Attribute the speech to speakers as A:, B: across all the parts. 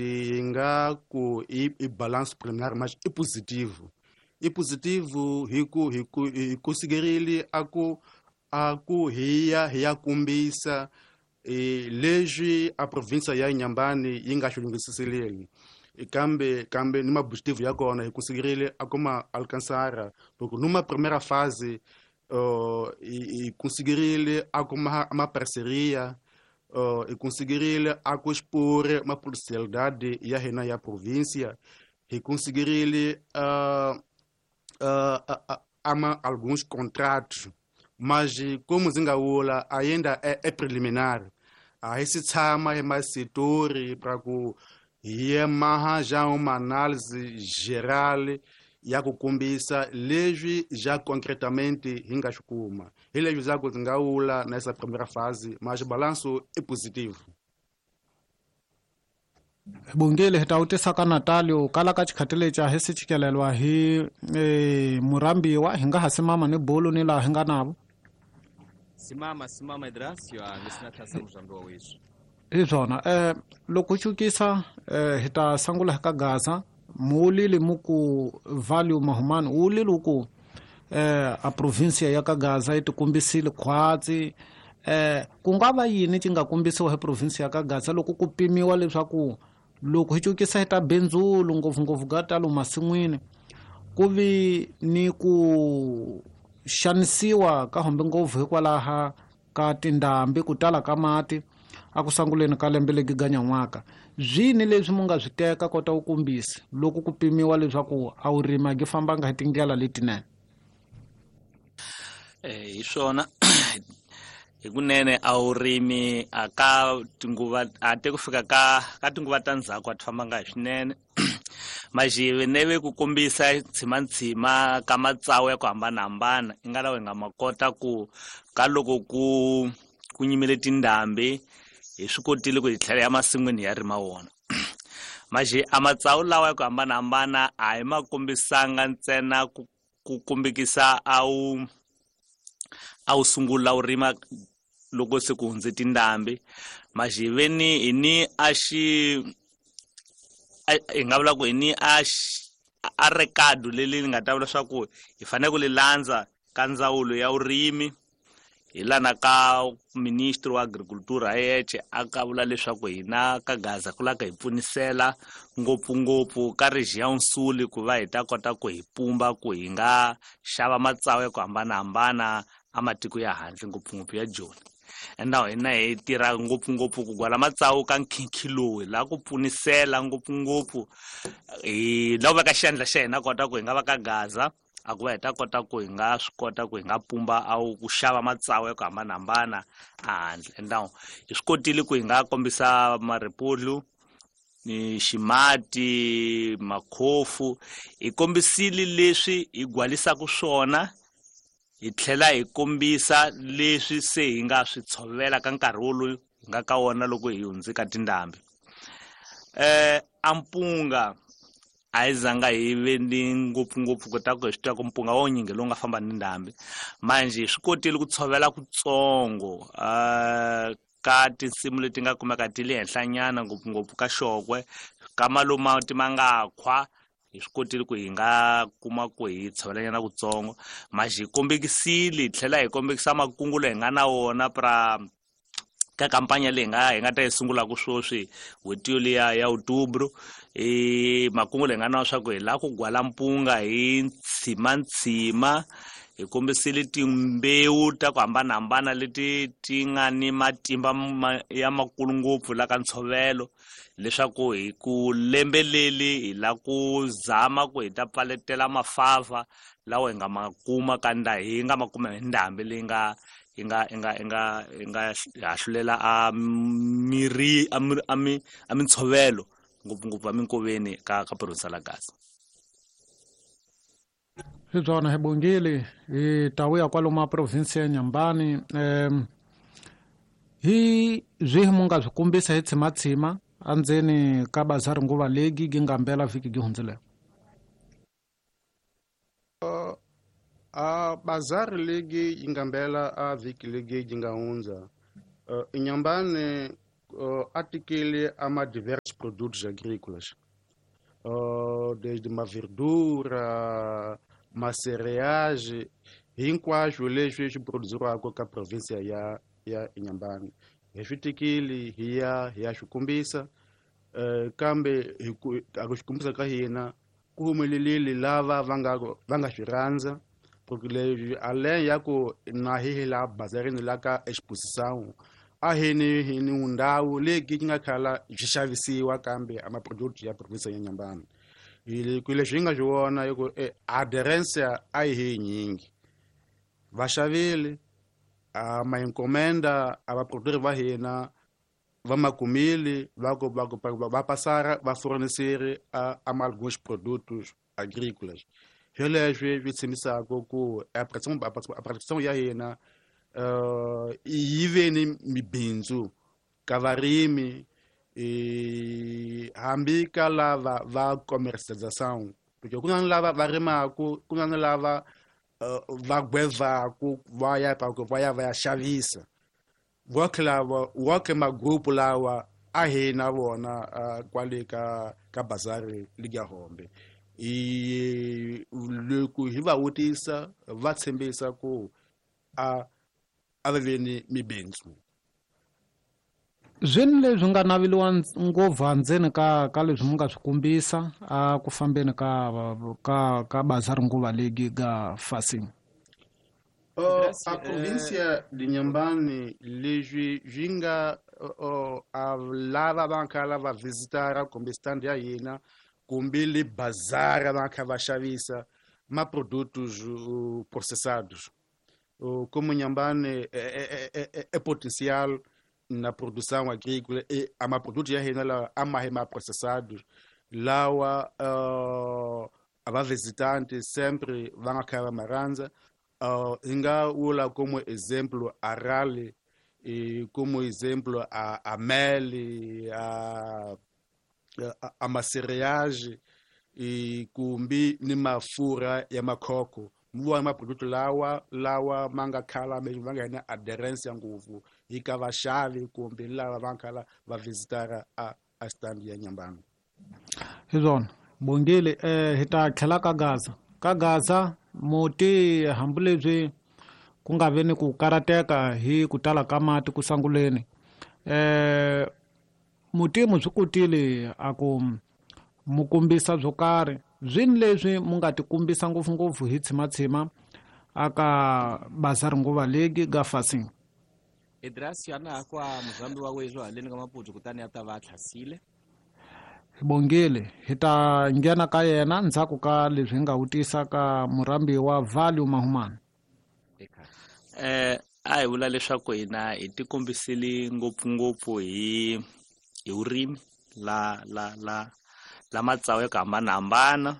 A: Yi nga ku i balance preliminary, mas i positivo. I positivo hi ku hi considerile a ku hi ya kombisa leswi a province ya Inhambane yi nga xi lunghiseleli, kambe ni maobjetivo ya kona hi considerile a kuma alcançar, porque numa primeira fase e conseguirile a kuma uma parceria e conseguirile a expor uma potencialidade ya hina ya província e conseguirile ama alguns contratos. Mas como ndzi nga vula, ainda é preliminar, a hi si tshama hi masitori para ku hi maha já uma análise geral ya ku kombisa leswi já concretamente hi nga swi kuma. Hi leswi za ku ndzi nga vula nessa primeira fase, mas balanço é positivo.
B: Bongile, hi ta wu tisa ka Natalio kala ka xikhati lexi a hi si chikelelwa hi murambiwa. Hi nga ha simama ni bulu ni laha hi nga navo.
C: Simama, simama, Idrasio, a ngesinatha muzambi wa wethu.
B: Hi swona, loko cukisa hi ta sangula hi ka Gaza. Muulile muku value mahumani wulile ku a provincia ya ka Gaza yi tikombisile khwatsi. Ku nga va yini ci nga kombisiwa hi province ya ka Gaza loko ku pimiwa leswaku loko hi cukisa hi ta bindzulu, ngopfungopfu ga talo masin'wini, ku vi ni ku xanisiwa ka hombe ngopfu hikwalaha ka tindhambi, ku tala ka mati a ku sanguleni ka lembe legi ganyan'waka? Zwini leswi mu nga swi teka kota ku kombisa loko ku pimiwa leswaku a wu rima gi fambanga hi tindlela letinene?
D: Hi swona, hikunene a wu rimi a ka tinguva a te ku fika ka tinguva ta ndzhaku a ti fambanga hi swinene. Majive neve ku kombisa ntshima ka matsawu ya ku hambanahambana i nga lawa hi nga ma kota ku ka loko ku nyimile tindhambi, hi swi kotile ku hi tlhela ya masin'wini ya rima wona. Maje a matsawu lawa ya ku hambanahambana a hi ma kombisanga ntsena ku kombekisa a wu sungula wu rima loko se ku hundze tindhambi. Majiveni hi ni a xi hi nga vula ku hi ni a recado leli ni nga ta vula swa ku hi fanele ku li landza ka ndzawulo ya vurimi, hi lana ka ministry wa agriculture yexe a ka vula leswaku hina ka Gaza ku lava ka hi pfunisela ngopfungopfu ka region Sul ku va hi ta kota ku hi pumba ku hi nga xava matsawu ya ku hambanahambana a matiko ya handle, ngopfungopfu ya Joni. And now hina hi tirha ngopfungopfu ku gwala matsawu ka nkhinkhi lowu, hi lava ku pfunisela ngopfungopfu, hi lava ku veka xandla xa hina kota ku hi nga va ka Gaza a ku va hi ta kota ku hi nga swi kota ku hi nga pumba a ku xava matsawu ya ku hambanahambana a handle. And now hi swi kotile ku hi nga kombisa maripudlu ni ximati, makhofu. Hi kombisile leswi hi gwalisaka swona, hi tlhela hi kombisa leswi se hi nga swi tshovela ka nkarhi wolowu hi nga ka wona loko hi hundze ka tindhambi. Ampunga a hi zanga hi ve ni ngopfungopfu ku ta ku hi swi tiva ku mpunga wa wunyingi lowu nga famba ni ndhambi. Manje hi swi kotile ku tshovela kutsongo ka tinsimu leti nga kumeka ti le henhlanyana, ngopfungopfu ka xokwe, ka maloma ti ma nga khwa. Hi swi kotile ku hi nga kuma ku hi tshovelanyana kutsongo. Manje hi kombekisile, hi tlhela hi kombekisa makungu leyi hi nga na wona pra ka kampanya leyi hi nga ta yi sungulaka sweswi n'hweti yoliya ya outubro. I makungu leyi nga na swa ku hi lava ku gwala mpunga hi ntshima. Hi kombisile timbewu ta ku hambanahambana leti ti nga ni matimba ya makulu ngopfu la ka ntshovelo, leswaku hi ku lembe leli hi la ku zama ku hi ta pfaletela mafava lawa hi nga ma kuma ka nda hi nga ma kuma hi ndhambi leyi nga yi nga yi nga yi nga yi nga hahlulela a miri a mintshovelo, ngopfungopfu a minkoveni ka province la Gaza.
B: Hi byona, hi bongile. Hi ta vuya kwalomu a province ya Nyambani. Hi byihi mu nga swi kombisa hi tshimatshima andzeni ka bazari nguva legi gi nga mbela vhiki gi hundzileko?
A: A bazari legi yi nga mbela a vhiki legi yi nga hundza, Inhambane Atikile ama diversos produtos agrícolas, desde uma verdura, ma cereais, hinkwaswo leswi swi produziriwaka ka provinsia ya Inhambane. Hi swi tikile hi ya swi kombisa, kambe hi ku swi kombisa ka hina ku humelelile lava va nga swi rhandza, porque leswi além ya ku na hi la bazarini la ka exposição a hi ni ndhawu leyi yi nga khala byi xavisiwa kambe a maproduct ya provinsia ya Inhambane. Hi leswi hi nga swi vona hi ku aderência a yi hi nyingi, va xavile a ma encomenda a vaproductori va hina va makumile va ku va passara va fornecer a alguns produtos agrícolas. Hi leswi swi tshembisaka ku a produção ya hina yi ve ni mibindzu ka varimi, hambi ka lava va commercialização, porque ku na lava va rimaku, ku na lava va gwevaku va ya va ya xavisa. Woke magrupu lawa a hi na vona kwale ka bazari liga Hombe. Loko hi va vutisa va tshembisa ku a va ve ni mibindzu.
B: Zwini leswi nga naveliwa ngopfu andzeni ka leswi mi nga swi kombisa a ku fambeni ka bazari nguva leyi ga Facim.
A: A província de Inhambane leswi swi nga lava va kha va visitara kumbe stand ya hina kumbe le bazara va kha va xavisa ma produtos processados. Como Inhambane é potencial na produção agrícola e a ma produto ya hina la a ma ma processados lawa a va visitante sempre va nga kha va marandza. Nga wula como exemplo a rally, e como exemplo a mel, a macereage, e kumbi ni mafura ya makhoko. Muwa ma produto lawa manga khala me vanga na aderência ngopfu ika vaxavi kumbe lava va khala va visitara a stand ya Inhambane.
B: Hi swona Bongile, hi ta tlhela ka Gaza. Ka Gaza muti hambileswi ku nga ve ni ku karateka hi ku tala ka mati ku sanguleni, muti mu swi kotile a ku mu kombisa byo karhi. Zwini leswi mu nga tikombisa ngopfungopfu hi tshimatshima aka bazari nguva leyi ga Facim.
C: Idrasi ana kwa muzambi wa wezo haleni ka Maputo kutani a ta va tlhasile.
B: Bongile hi ta nghena ka yena ndzhaku ka leswi hi nga vutisa ka murambi wa Value Mahumani.
D: A hi vula leswaku hina hi tikombisile ngopfungopfu hi vurimi la la la la matsawu ya ku hambanahambana.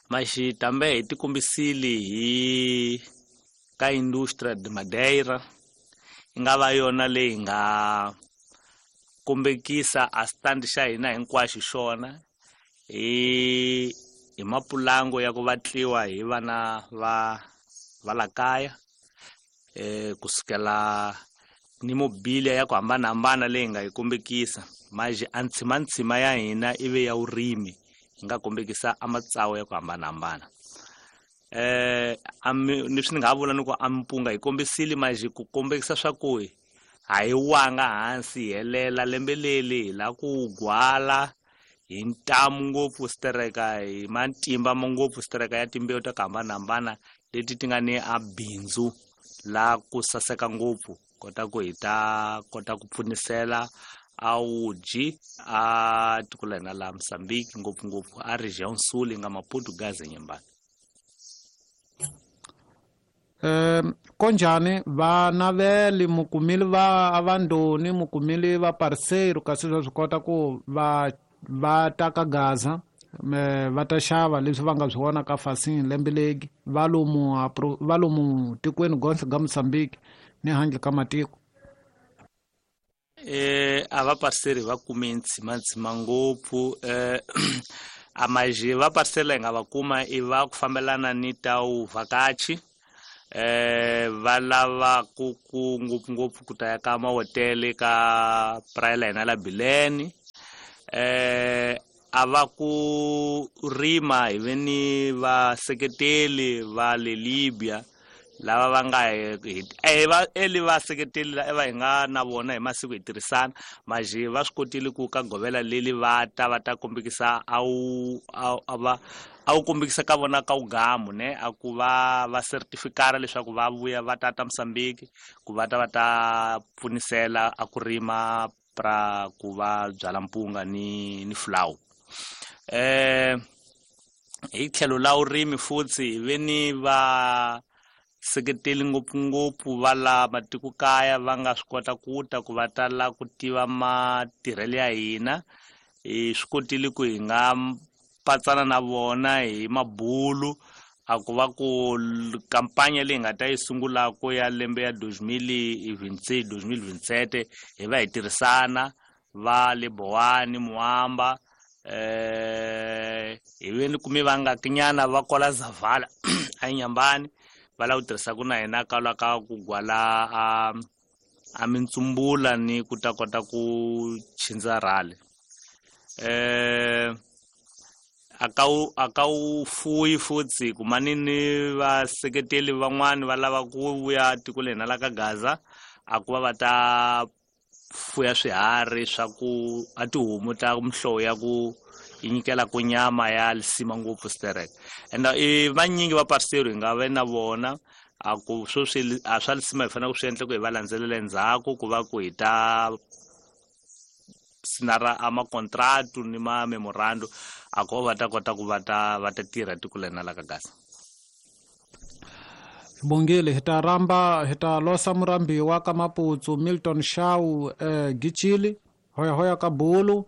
D: Maxi tambe hi tikombisile hi ka industria de Madeira, yi nga va yona leyi nga kombekisa a stand xa hina hinkwaxo xona hi mapulango ya ku vatliwa hi vana va la kaya, kusukela ni mobilia ya ku hambanahambana leyi nga yi kombekisa. Maji a ntshimantsima ya hina ive ya vurimi, hi nga kombekisa a matsawu ya ku hambanahambana. Leswi ni nga vula ni ku a mpunga hi kombisile maji ku kombekisa swa ku a hi wanga hansi hi helela lembe leli hi la ku gwala hi ntamu ngopfu stereka hi matimba ngopfu stereka ya timbewu ta ku hambanahambana leti ti nga ni a bindzu la ku saseka ngopfu, kota ku hi ta kota ku pfunisela a wuji a tiko la hina la Mozambique, ngopfungopfu a region sul nga Maputo Gaza Inhambane.
B: Konjani va naveli mukumili va avandoni mukumili va parceiro kasi swa swi kota ku va ta ka Gaza va ta xava leswi va nga swi vona ka Facim lembe legi va lomu tikweni gonse ga Mozambique ni handle ka matiko.
D: A va parceri va kume ntshimantsima ngopfu. A maji va parcela hi nga va kuma i va ku fambelana ni ta vuvhakachi. Va lava ku ngopfungopfu ku ta ya ka mahotele ka praia la hina la Bilene. A va ku rima hi ve ni vaseketeli va le Libya lava va nga va eli vaseketeli va hi nga na vona hi masiku hi tirhisana maje va swi kotile ku ka govela leli va ta kombekisa a wu kombekisa ka vona ka ugamu ne a ku va certificara leswaku va vuya va tata Mozambique ku va ta pfunisela a ku rima pra ku va byala mpunga ni flour. Hi tlhelo la urimi futhi hi ve ni va seketeli ngopfungopfu va la matikokaya va nga swi kota ku ta ku va tala ku tiva matirhelo ya hina. Hi swi kotile ku hi nga patsana na vona hi mabulu a ku va ku kampanya leyi nga ta yi sungulaka ya lembe ya 2026 2027 hi va hi tirhisana va le Bowani Muamba hi ve ni kume va nga kinyana va kwala Zavala a Nyambani va lava ku tirhisaka na hina ka ka ku gwala a mintsumbula ni ku ta kota ku chindza rhale. A ka wu fuyi futhi kumani ni vaseketeli van'wani va lava ku vuya tiko lehina la ka Gaza a ku va ta fuya swiharhi swa ku a tihomu ta mihlovo ya ku yi nyikela ku nyama ya lisima ngopfu sterek. And i vanyingi va parcel hi nga ve na vona a ku sweswi a swa lisima hi fanele ku swi endla ku hi va landzelela endzhaku ku va ku hi ta sinara a makontratu ni ma memorando a ku va ta kota ku va ta tirha tiko lena la ka Gaza.
B: Bongile hi ta ramba hi ta losa murambiwa ka Maputsu Milton Shau Gichili hoya ka Bulu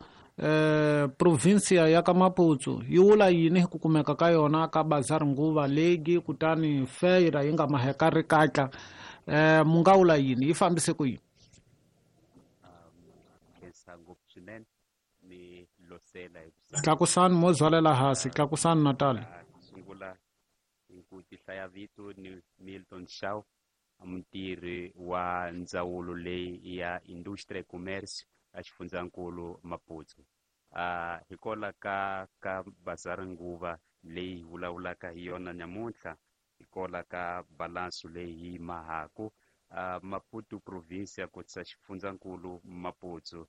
B: provincia ya ka Maputsu yi wula yini hi ku kumeka ka yona ka Bazar Nguva legi kutani feira yi nga maheka ri katla mu nga wula yini yi fambise ku yini? Tlakusani mo zwalela hansi tlakusani Natal.
E: Sungula hi ku tihlaya vito ni Milton Shaw mutirhi wa ndzawulo leyi ya Industria e Commerce a xifundzankulu Maputo. Hi kola ka Bazar Nguva leyi vulavulaka hi yona namuntlha hi kola ka balanso leyi yi mahaku Maputo provincia kotisa xifundzankulu Maputo.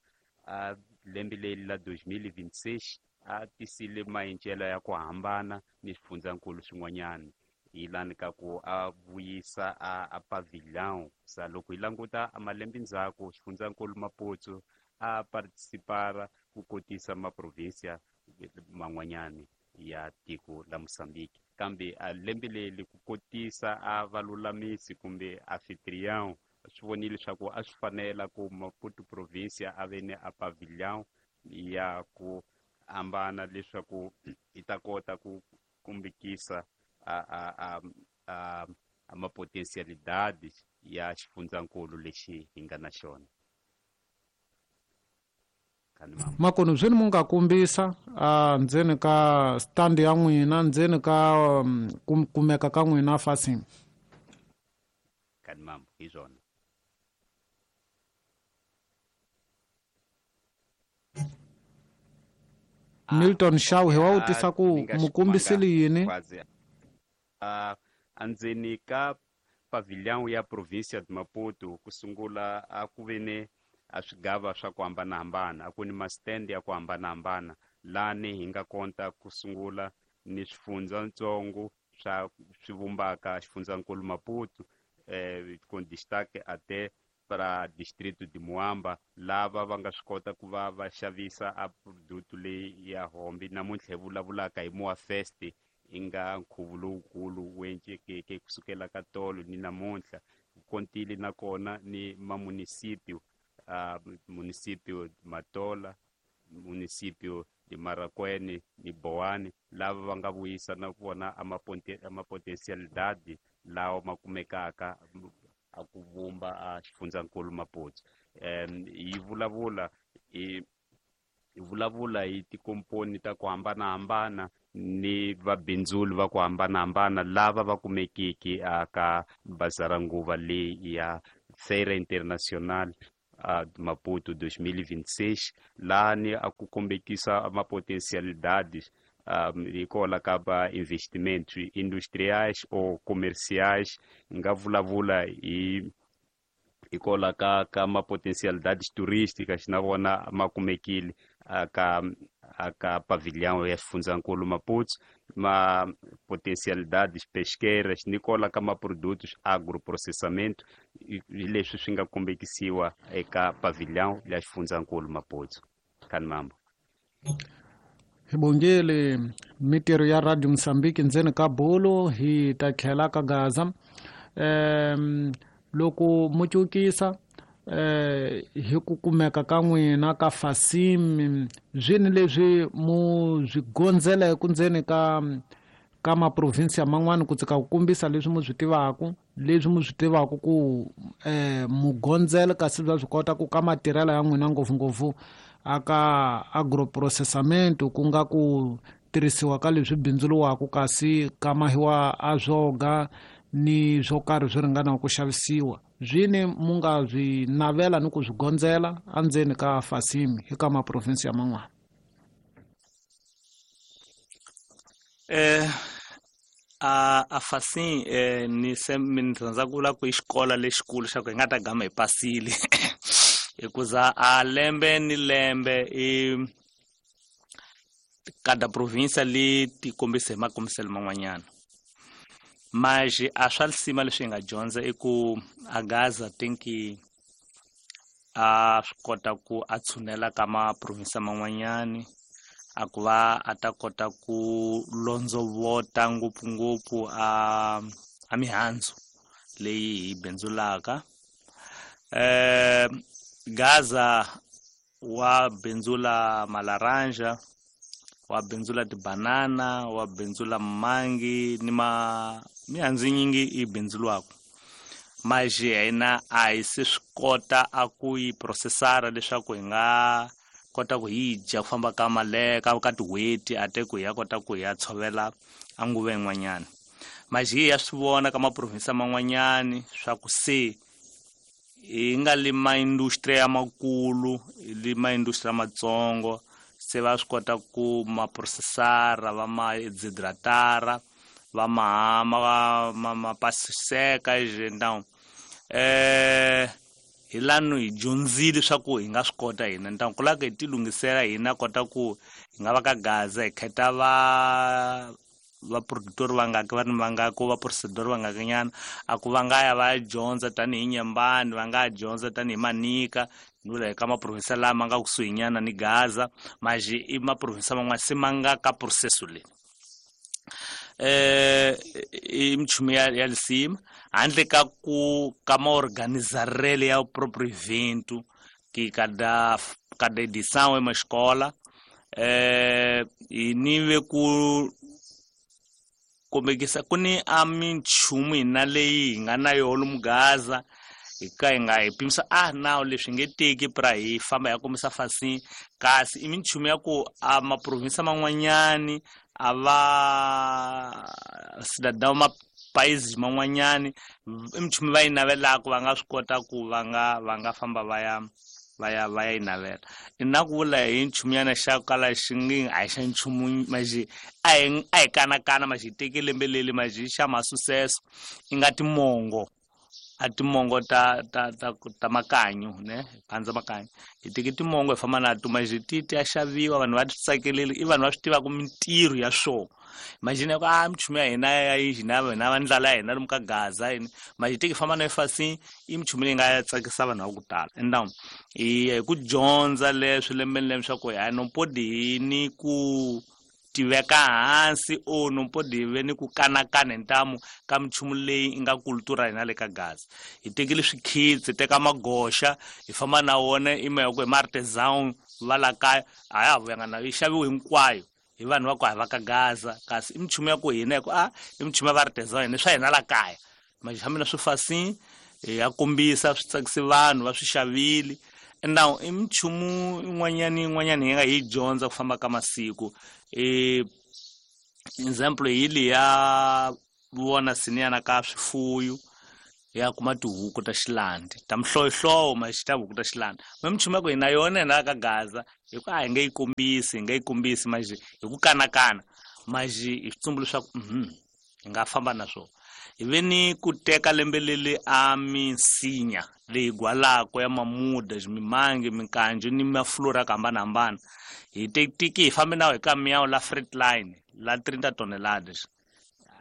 E: Lembe leri la 2026 a tisile maendlelo ya ku hambana ni swifundzankulu swin'wanyana hi lani ka ku a vuyisa a pavilion sa loko hi languta a malembe ndzhaku xifundzankulu Maputo a participara ku kotisa maprovinsia man'wanyana ya tiko la Mozambique kambe a lembe leri ku kotisa a valulamisi kumbe anfitrião swi vonile leswaku a swi fanela ku Maputo provincia a ve ni a pavilion ya ku hambana leswaku yi ta kota ku kumbekisa a mapotencialidades ya xifundzankulu lexi hi nga na xona.
B: Makoni byi ni mu nga kombisa ndzeni ka stand ya n'wina ndzeni ka kumeka ka n'wina fasini.
E: Kani mambo hi swona.
B: Milton Shaw hi wa wutisa ku mu kombisile yini?
E: Andzeni ka pavilion ya provincia de Maputo ku sungula a ku ve ni a swigava swa ku hambanahambana a ku ni ma-stand ya ku hambanahambana lani hi nga kota ku sungula ni swifundzatsongo swa swi vumbaka xifundzankulu Maputo com destaque até para distrito de Moamba lava va nga swi kota ku va va xavisa a produto leyi ya hombi namuntlha hi vulavulaka hi Moa Fest yi nga nkhuvo lowukulu wu endlekeke kusukela ka tolo ni namuntlha kontile nakona ni mamunicipio municipio Matola municipio de Marakwene ni Boane lava va nga vuyisa na vona a mapotencialidade lawa ma kumekaka a ku vumba a xifundzankulu Maputo. Yi vulavula hi tikomponi ta ku hambanahambana ni vabindzuli va ku hambanahambana lava va kumekiki aka bazara nguva leyi ya Feira Internacional Maputo 2026, lani a ku kombekisa mapotencialidades hikola ka va investimentos industriais ou comerciais. Nga vulavula hi hikola ka mapotencialidades turísticas, na vona ma kumekile aka pavilhão ya xifundzankulu Maputo, ma potencialidades pesqueiras ni kola ka ma-produtos agroprocessamento, leswi swi nga kombekisiwa eka pavilhão ya xifundzankulu Maputo. Kani mambo.
B: Hi bongele mitirho ya Radio Mozambique ndzeni ka bolo hi ta tlhela ka Gaza. Loko mucukisa hi ku kumeka ka n'wina ka Fasim, zwini leswi mu swi gondzeleke ndzeni ka maprovinsia man'wana ku tsika ku kombisa leswi mu swi tivaka, leswi mu swi tivaka ku mu gondzela, kasi bya swi kota ku ka matirhelo ya n'wina ngopfungopfu aka agroprocessamento, ku nga ku tirhisiwa ka leswi bindzuriwaka kasi ka mahiwa a swoga ni swo karhi swi ringanaku ku xavisiwa, zwini mu nga swi navela ni ku swi gondzela endzeni ka Fasim hi ka maprovinsi ya man'wana?
D: A Fasim ni se mi rhandza ku vula ku i xikolo lexikulu xa ku hi nga ta gama hi pasile, hikuza a lembe ni lembe i kada provinsia li ti kombisa hi makombiselo man'wanyana. Mas a swa lisima leswi hi nga dyondza i ku a Gaza tinki a swi kota ku a tshunela ka maprovinsia man'wanyani, a ku va a ta kota ku londzovota ngopfungopfu a mihandzu leyi hi bindzulaka. Gaza wa bindzula malaranja, wa bindzula tibanana, wa bindzula mangi ni ma mihandzu yinyingi yi bindzuriwaka. Mas hina a hi se swi kota a ku yi processara leswaku hi nga kota ku hi dya ku famba ka male ka tin'hweti, a te ku hi ya kota ku hi ya tshovela a nguva yin'wanyana. Mas hi ya swi vona ka maprovinsi man'wanyani swa ku se hi nga li maindustria ya makulu, hi li maindustria matsongo, se va swi kota ku ma processara, va ma dehydratara, va ma pasiseka então hi lano hi dyondzile swa ku hi nga swi kota hina. Então ku lava ku hi ti lunghisela hina kota ku hi nga va ka Gaza hi khetha va producteur va nga va ni va nga ku va processor va nga nyana, a ku va nga ya va ya dyondza tanihi Nyembani, va nga dyondza tanihi Manica, ni vula hi ka maprovinsi lama nga kusuhi nyana ni Gaza, mas i maprovinsi man'wana se ma nga ka processo leyi. I minchumu ya lisima handle ka ku ka maorganizarele ya proprio evento ki kada edição ema escola, hi ni ve ku kombekisa ku ni a minchumu hina leyi hi nga na yona lomu Gaza, hi ka hi nga hi pimisa a nawu leswi nge teki pra hi famba hi ya kombisa Fasim, kasi i minchumu ya ku a maprovinsi man'wanyani a va cidadão ma países man'wanyani i minchumu va yi navelaka, va nga swi kota ku va nga famba va ya yi navela. I na ku vula hi nchumunyana xa kala xi nge a hi xa nchumu, maxi a hi kanakana, maxi hi teke lembe leli, maxi xa masucesso i nga timongo, a timongo ta makanyu ne pandza makanyu, hi teke timongo hi famba na to, maxi ti ya xaviwa, vanhu va ti tsakeleli, i vanhu va swi tivaka mintirho ya swona. Imagine ku a minchumu ya hina ya hina hina va ndlala ya hina lomu ka Gaza yini, maxi teke famba na Fasim i minchumu leyi nga tsakisa vanhu va ku tala. Então hi ku dyondza leswi lembe ni lembe swa ku hi no podi hi ni ku tiveka hansi o no podi hi ve ni ku kanakana hi ntamu ka minchumu leyi nga kultura hina le ka Gaza. Hi tekile swikhitsi, hi teka magoxa hi famba na wona i mhaka ku hi ma-artisan va la kaya a ya ha vuyanga na yi xaviwe hinkwayo hi vanhu va ku hi va ka Gaza, kasi i minchumu ya ku hina hi ku a i minchumu ya va-artisan hina swa hina la kaya, maxi fambi na swi Fasim hi ya kombisa swi tsakise vanhu va swi xavile. Now i minchumu yin'wanyana yin'wanyana hi nga hi dyondza ku famba ka masiku. Example hi liya vona siniyana ka swifuyo ya kuma tihuku ta xilandi ta mihlovohlovo maxi ta huku ta xilandi me minchumu ya ku hina yona hina ka Gaza hi ku a hi nge yi kombisi hi nge yi kombisi maxi hi ku kanakana maxi hi switsumbu leswaku hi nga famba na swona. Hi ve ni ku teka lembe leli a minsinya leyi gwalako ya mamuda mimangi minkanjo ni maflora ya ku hambanahambana hi tiki hi fambe na hi kamiyawu la freight line la 30 toneladas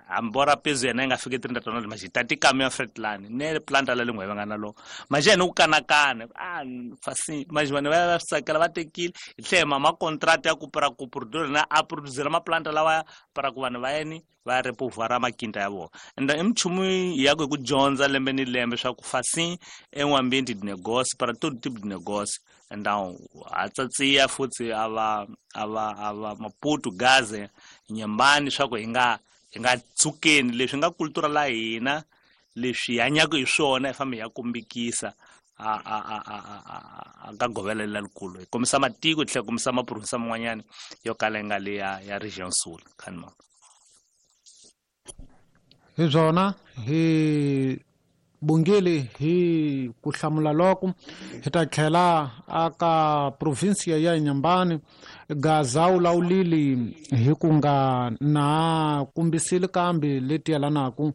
D: hambora pezu yena yi nga fiki 30 toneladas maxi hi tati kamiya freight line ne planta la lengwe va nga na lo maxi yena ku kanakana a fasi maxi vanhu va va swi tsakela va tekile hi tlhela ma contract ya ku pra ku produce na a producer maplanta lawa para ku vanhu va yeni va repovara makinta ya vona. Ende i minchumu ya ku hi ku dyondza lembe ni lembe swa ku fasi é um ambiente de negócio para todo tipo de negócio. Então a tsatsiya futhi a va a va a va Maputo Gaza Nyambani swa ku hi nga tsukeni leswi nga cultura la hina leswi hi hanyaka hi swona hi fambe hi ya kombekisa a ka govela lelikulu hi kombisa matiko hi tlhela kombisa maprovinsi man'wanyana yo kala yi nga le ya region Sul khanima.
B: Hi byona hi bongile hi ku hlamula loko hi ta tlhela aka provinsia ya Inhambane Gaza wu lawulile hi ku nga na kumbisile kambe leti yelanaku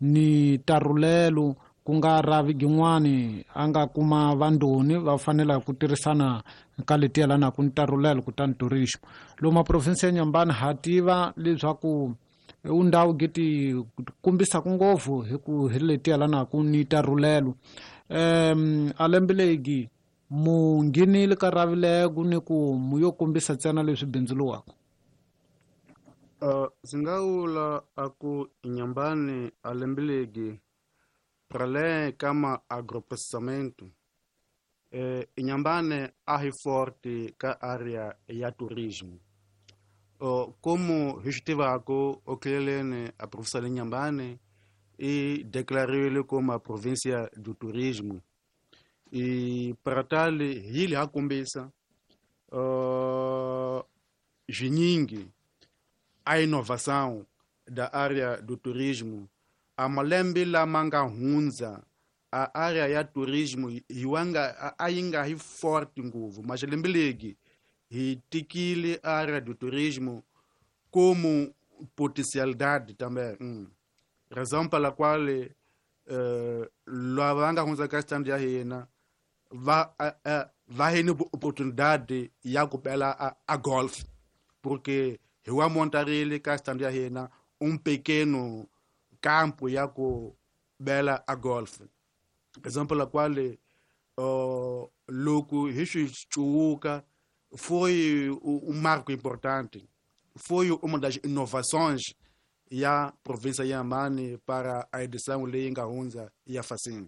B: ni tarulelo ku nga ravi gin'wani a nga kuma vandoni va fanela ku tirhisana ka leti yelanaku ni tarulelo kutani turismo lomu provinsia ya Inhambane ha tiva leswaku undhawu giti kumbisaka ngopfu hi ku hi leti yelanaku ni tarulelo a lembe legi mu nghenile ka ravileko ni ku mu yo kombisa ntsena leswi bindzuluwaka.
A: Ndzi nga vula a ku Inhambane a lembe legi para além ka ma agroprocessamento Inhambane a hi forte ka área ya turismo. Como hi swi tivaka oklelene a província de Inhambane e declarou como a província do turismo e para tal hi le ha kombisa swinyingi a inovação da área do turismo a malembe lama nga hundza a área ya turismo hiwanga a yi nga hi forte ngopfu mas lembe legi hi tikile a área do turismo como potencialidade também. Razão pela qual lava nga hundza ka stand ya hina va va hini oportunidade ya ku bela a golf porque hi wa montarile ka stand ya hina pequeno campo ya ku bela a golf. Razão pela qual loko hi swi cuwuka foi marco importante, foi uma das inovações ya província ya Inhambane para a edição leyi nga hundza ya Facim.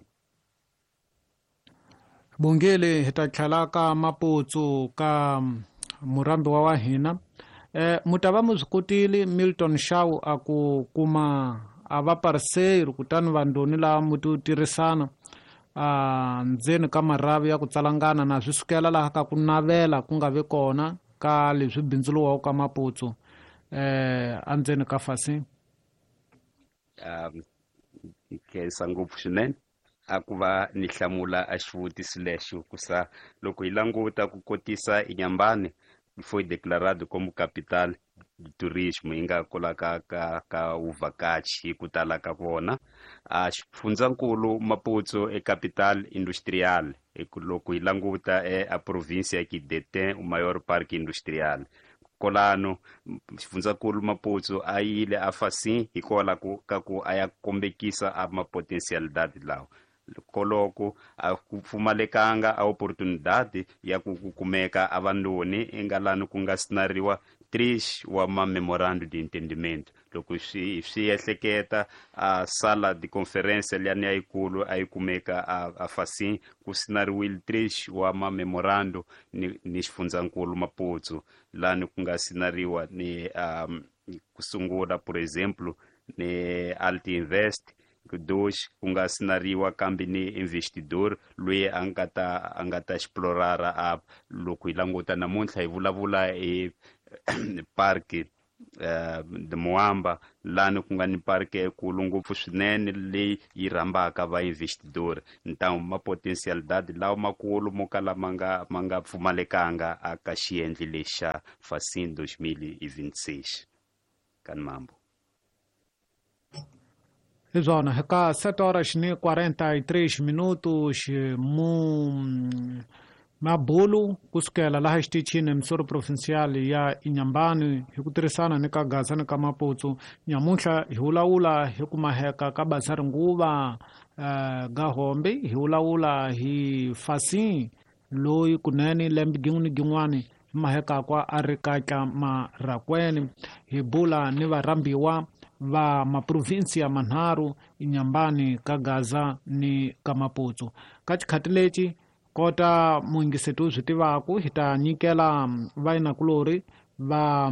B: Bongele hi ta tlhela ka Maputo ka murambi wa hina mu ta va mu swi kotile Milton Shaw a ku kuma a va parceiro kutani vandoni lava mu ti tirhisana a ndzeni ka maravi ya ku tsalangana na swi sukela laha ka ku navela ku nga vi kona ka leswi bindzuluwaka ka Maputo andzeni ka Facim.
E: Khensa ngopfu swinene a ku va ni hlamula a xivutiso lexo ku sa loko hi languta ku kotisa Inhambane foi declarado como capital do turismo yi nga kolaka ka uvhakachi hi ku tala ka vona a xifundzankulu Maputo e capital industrial loko hi languta a província que detém o maior parque industrial kolano xifundzankulu Maputo a yile a Facim hikola ka ku a ya kombekisa a mapotencialidade lawa koloko a ku pfumalekanga a oportunidade ya ku kumeka a vandoni engalani ku nga sinariwa 3 wa ma memorando de entendimento loko swi ehleketa a sala de conferência liyani yayikulu a yi kumeka a Facim ku sinariwile 3 wa ma memorando ni xifundzankulu Maputo lani ku nga sinariwa ni ku sungula por exemplo ni Alti Invest dos ku nga sinariwa kambe ni investidor loyi a nga ta explorara a loko hi languta namuntlha hi vulavula hi park de Moamba, lani ku nga ni parke ekulu ngopfu swinene leyi yi rhambaka vainvestidori. Então mapotensialidade lawa makulu mo kala ma nga pfumalekanga aka xiendli lexa Facim 2026 kan mambo.
B: Hi swona ka 7 horas ni 43 minutos mabulu kusukela laha xitichini emisoro provincial ya Inhambane hi ku tirhisana ni ka Gaza ni ka Maputo. Nyamuntlha hi vulavula hi ku maheka ka bazari nguva Gahombe, hi vulavula hi Facim loyi kunene lembe gin'we ni gin'wani maheka kwa a ri katla Marracuene. Hi bula ni varhambiwa va maprovinsia manharhu Inhambane ka Gaza ni ka Maputo. Ka xikhati lexi kota muyingiseti u swi tivaku, hi ta nyikela vayinakulori va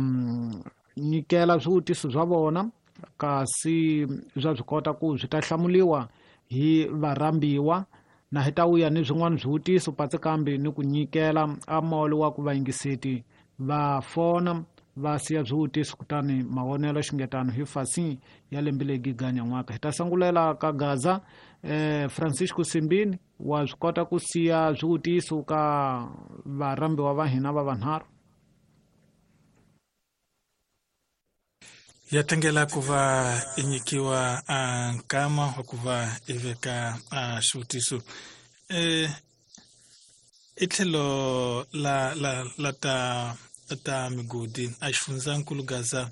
B: nyikela swivutiso swa vona, kasi swa swi kota ku swi ta hlamuliwa hi varhambiwa, na hi ta vuya ni swin'wana swivutiso patsi kambe ni ku nyikela a molo wa ku vayingiseti va fona va siya swivutiso kutani mavonelo xingetano hi Facim ya lembe leyi ganyan'waka. Hi ta sangulela ka Gaza. Francisco Simbini, wa swi kota ku siya swivutiso ka varhambiwa va hina va vanharhu?
F: Ya tlangela ku va i nyikiwa a nkama wa ku va i veka a xivutiso. I tlhelo la la la ta ta migodi a xifundzankulu Gaza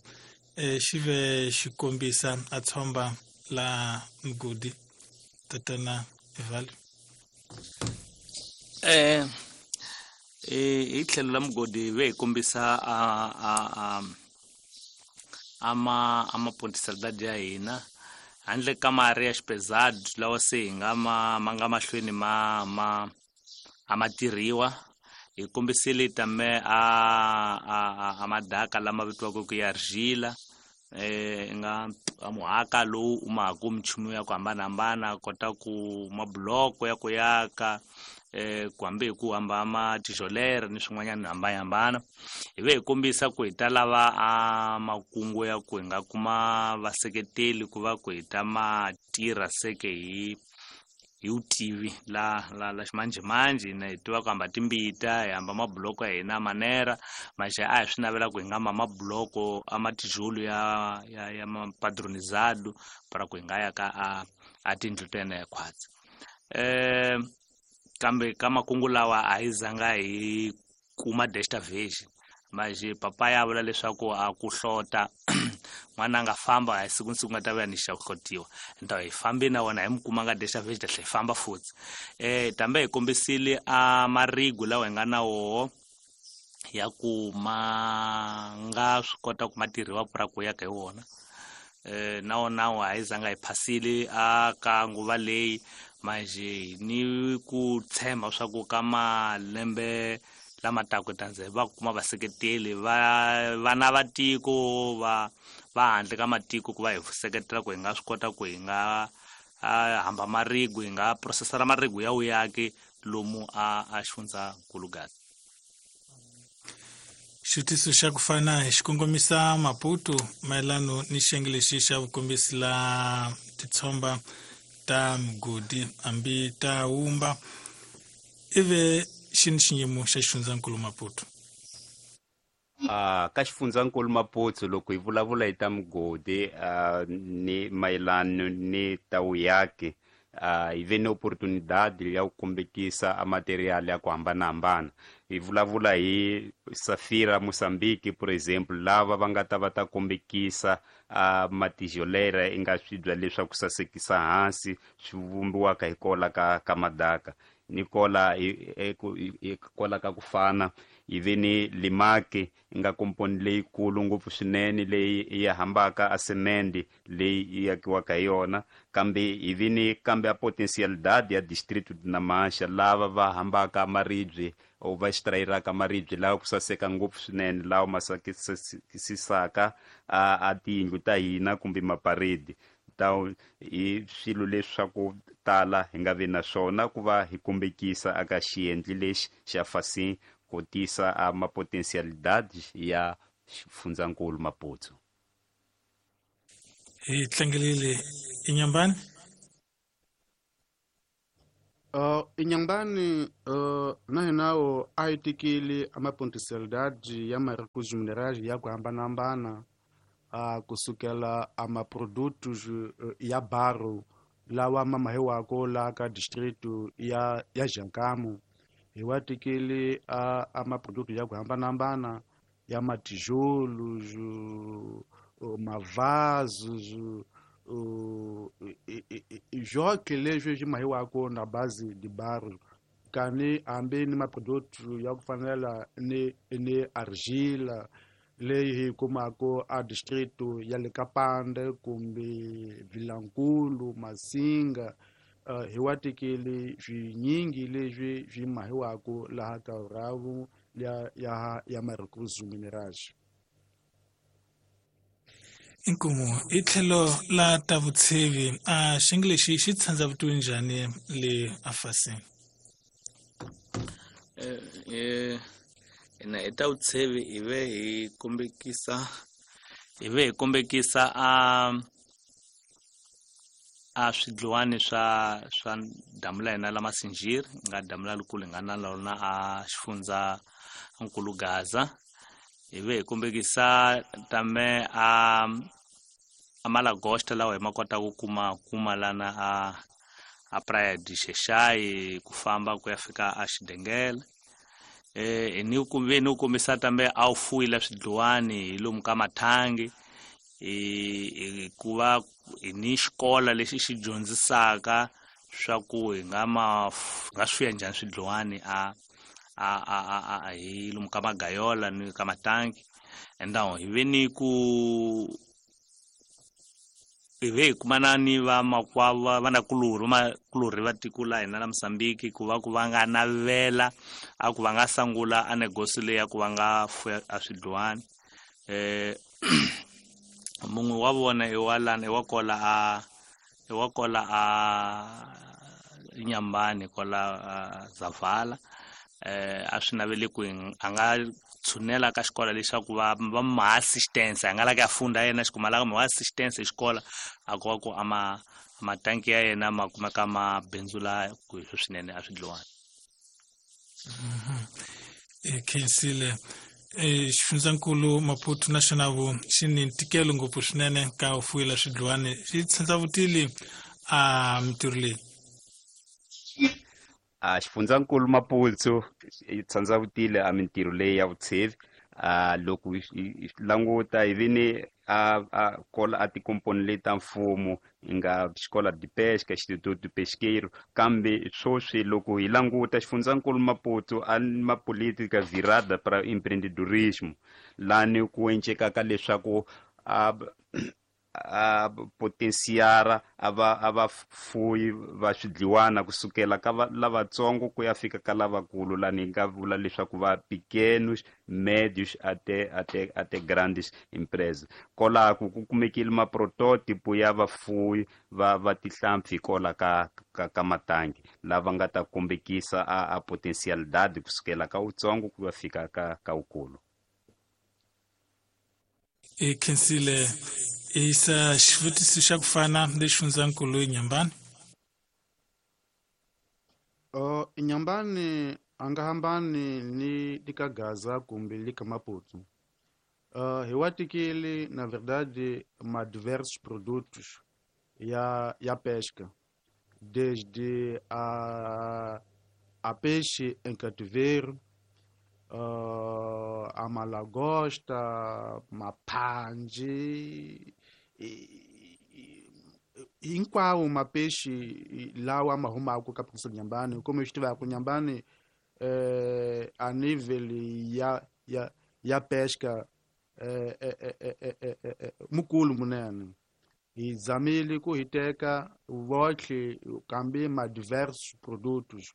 F: xi ve xi kombisa a tshomba la migodi tatana Evalio.
D: Hi tlhelo la mugodi ve hi kombisa a ama potencialidade ya hina handle ka mari ya xipezado lawa se hi nga ma nga mahlweni ma ama tirhiwa. Hi kombisile tame a madaka lama vitiwaka ku ya argila, nga muhaka lowu u maku minchumu ya ku hambanahambana, kota ku mabuloko ya ku yaka, ku hambi hi ku hamba ma tijolere ni swin'wanyana hambanahambana. Hi ve hi kombisa ku hi ta lava a makungu ya ku hi nga kuma vaseketeli ku va ku hi ta ma tirha seke hi vutivi la la la ximanjhemanjhe, na hi tiva ku hamba timbita, hi hamba mabuloko ya hina manera maxe a hi swi navela ku hi nga ma mabuloko a matijolo ya ya ya mapadronizado para ku hi nga ya ka a tindlu ta hina ya khwatsi. Kambe ka makungu lawa a hi zanga hi kuma desta vez maje papa ya vula leswaku a ku hlota n'wana a nga famba a siku ni siku nga ta vuya ni xa ku hlotiwa, nta hi fambi na wona hi mi kuma nga desta vez ta tlhela hi famba futhi. Tambe hi kombisile a marigu lawa hi nga na woho ya ku ma nga swi kota ku ma tirhiwa pura ku ya ka hi wona. Na wona a hi zanga hi phasile a ka nguva leyi manje ni ku tshemba swa ku ka malembe lama taka tanze va kuma vaseketeli va vana va tiko va handle ka matiko ku va hi seketela ku hi nga swi kota ku hi nga hamba marigu, hi nga processara marigu ya uyaki lomu a xifundzankulu Gaza.
F: Xivutiso xa ku fana hi xikongomisa Maputo mayelano ni xiyenge lexi xa vukombisi la titshomba ta migodi hambi ta wumba, ive xi ni xiyimo xa xifundzankulu Maputo?
E: Ka xifundzankulu Maputo loko hi vulavula hi ta migodi ni mayelano ni ta vuyaki, hi ve ni oportunidade ya ku kombekisa a material ya ku hambanahambana. Hi vulavula hi Safira Mozambique por exemple, lava va nga ta va ta kombekisa a matijolera i nga swibya leswaku sasekisa hansi swi vumbiwaka hi kola ka madaka ni kola kola ka ku fana. Hi ve ni Limaki nga komponi leyikulu ngopfu swinene leyi yi hambaka a semende leyi yi akiwaka hi yona, kambe hi ve ni kambe a potencialidade ya distrito de Namaacha lava va hambaka maribye o va extrairaka maribye lawa ku saseka ngopfu swinene lawa ma sasekisaka a tiyindlu ta hina kumbe maparedi. Hi swilo leswaku tala hi nga vi na swona ku va hi kombekisa aka xiendli lexi xa Facim ku tisa a mapotensialidade ya xifundzankulu Maputo.
F: Hi tlangelile Inhambane.
A: Inhambane na hinawo a yi tikile a mapontiselidade ya maricos minerais ya ku hambanahambana kusukela a maprodutos ya barro lawa ma mahiwako la ka distrito ya Jangamo. Hi wa tikile a maproduto ya ku hambanahambana ya matijolos, mavasos, joque leswi swi mahiwako na base de barro kani hambi ni maproduto ya ku fanela ni argila leyi hi kumaka a distrito ya le Kapande kumbe Vilankulu, Masinga. Hi wa tikile swinyingi leswi swi mahiwako laha ka Ravu ya Maricos Minerais.
F: Inkomu i tlhelo la ta vutshevi a xinglexi xi tshandza vutomi njhani le afasini?
D: Ina hi ta vutshevi hi ve hi kombekisa a swidliwani swa damu la hina la Masinjiri, nga damu la likulu hi nga na lona a xifundza nkulu Gaza. Hi ve hi kombekisa tame a malagosta lawa hi ma kota ku kuma lana a Praia de Xexai ku famba ku ya fika a Xidengele. Ni ku kombisa tambe a wu fuwile swidliwani hi lomu ka mathangi, hikuva hi ni xikola lexi xi dyondzisaka swa ku hi nga swi fuya njhani swidliwani a hi lomu ka magayola ni ka matangi. Endawo hi ve ni ku hi ve hi kumana ni vamakwavo vanakulorhi va tiko la hina la Mozambique ku va ku va nga navela a ku va nga sangula a negosi leyi ya ku va nga fuya a swidliwani. Mun'we wa vona i wa lana i wa kola a Inhambane kola Zavala. A swi naveli ku a nga tshunela ka xikola lexaku va ma assistance, a nga la ku ya funda yena xikuma la ma assistance xikola a ku va ku a matanki ya yena ma kumeka ma bindzula ku hi swinene a swidliwani.
F: Khensile xifundzankulu Maputo na xona vu xi ni ntikelo ngopfu swinene ka u fuwela swidliwani, xi tshandza vutili a mintirho leyi.
E: Xifundzankulu Maputo yi tshandza vutile a mintirho leyi ya vutshevi. Loko hi languta hi vini a kola a tikomponi leti ta mfumo hi nga xikola de pesca, Instituto Pesqueiro, kambe sweswi loko hi languta xifundzankulu Maputo a ma política virada para empreendedorismo, lani ku encekaka leswaku a potensiara a va fuyi va swidliwana kusukela ka lavatsongo ku ya fika ka lavakulu, lani hi nga vula leswaku va pequenos, médios até grandes empresas. Kolaku ku kumekile maprototipo ya vafuyi va tihlampfi kola ka matangi lava nga ta kombekisa a potencialidade kusukela ka utsongo ku ya fika ka ukulu.
F: Khensile isa xivutiso xa ku fana lexi xifundzankulu Inhambane.
A: Inhambane a nga hambani ni lika Gaza kumbe lika Maputo. Hi wa tikile na verdade ma diversos produtos ya pesca, desde a peixe em cativeiro, a malagosta, mapanji, hinkwawo mapeixe lawa ma humaka ka province Inhambane. Como eu estive com Inhambane, a nível ya pesca mukulu munene. Hi zamile ku hi teka votlhe kambe ma diversos produtos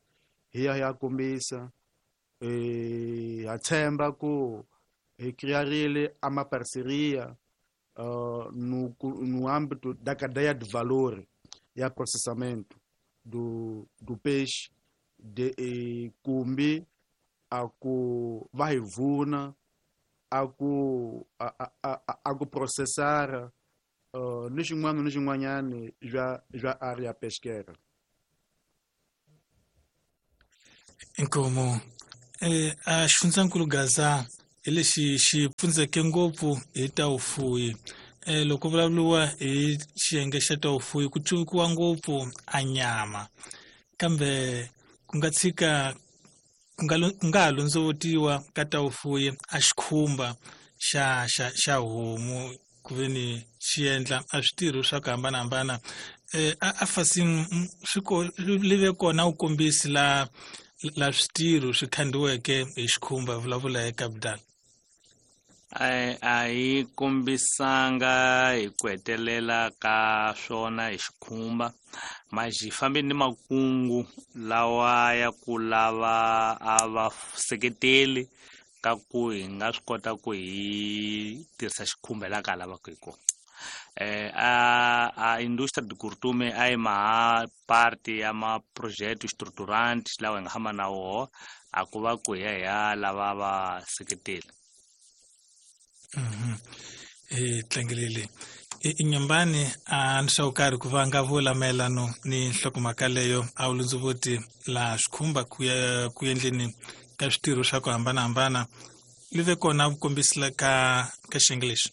A: hi ya kombisa. Ha tshemba ku hi criarile a ma parceria no âmbito da cadeia de valor e processamento do peixe de kumbe a ku va hi vuna a ku a ku processara ni xin'wana ni xin'wanyana bya area pesqueira.
F: Inkomo a xifundzankulu Gaza hi lexi xi pfundzeke ngopfu hi ta vufuwi. Loko vulavuriwa hi xiyenge xa ta vufuwi ku cuvukiwa ngopfu a nyama, kambe ku nga tshika ku nga ha londzovotiwa ka ta vufuwi a xikhumba xa homu ku ve ni xi endla a switirho swa ku hambanahambana. A fasini swi live kona u kombisi la switirho swi khandiweke hi xikhumba, vulavula hi capital.
D: A yi kombisanga hi ku hetelela ka swona hi xikhumba, mas hi fambe ni makungu lawa ya ku lava a va seketeli ka ku hi nga swi kota ku hi tirhisa xikhumba laha ka lavaka hi kona. A industria de curtume a yi maha parte ya ma projeto estruturante lawa hi nga hamba na woho, a ku va ku hi ya hi ya lava va seketeli.
F: Tlangelele Inhambane a ni swa karhi ku va nga vula mayelano ni nhlokomhaka leyo a wu lundzuvoti laha xikhumba ku ya ku endleni ka switirho swa ku hambanahambana li ve kona vukombisila ka xiyenge lexi.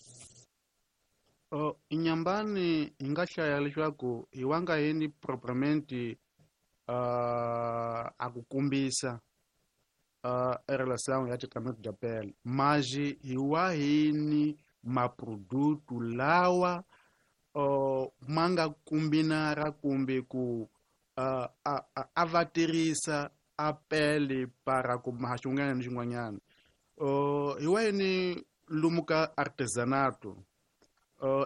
A: Inhambane hi nga hlaya leswaku hi wa nga yini propriamente a ku kombisa a relação ya tratamento da pele, mas hi wa hini maproduto lawa ma nga kombinara kumbe ku a va tirhisa a pele para ku maha xin'wana ni xin'wanyana. Hi wa yini lomu ka artesanato